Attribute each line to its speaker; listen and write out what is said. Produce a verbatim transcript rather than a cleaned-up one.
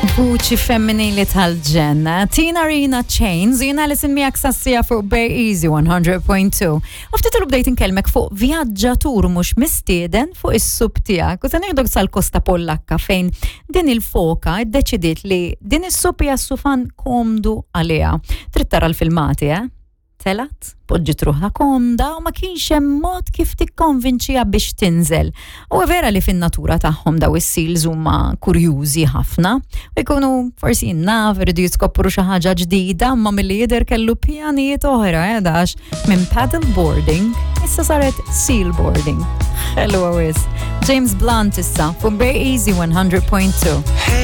Speaker 1: Vuċi femminili tal-ġenna. Tina Arena, "Chains", jiena Alison miegħek sas-siegħa fuq Bay Easy one hundred point two. U ftit ilu bdejt inkellmek fuq vjaġġatur mhux mistieden fuq is-sup tiegħek. U se nieħdok sal-Kosta Pollakka fejn din il-foka iddeċidiet li din is-sup hija sufan komdu għaliha. Trid tara l-filmati, eh? Telgħet, poġġiet ruħha komda u ma kienx hemm mod kif tikkonvinċiha biex tinżel. U vera li fin-natura tagħhom daw is-seals huma kurjużi ħafna u jkunu forsi naf iridu jiskopru xi ħaġa ġdida, imma milli jidher kellu pjanijiet oħra, eh, dax minn paddle boarding issa saret seal boarding. Hello wisq. James Blunt issa fuq Bay Easy one hundred point two.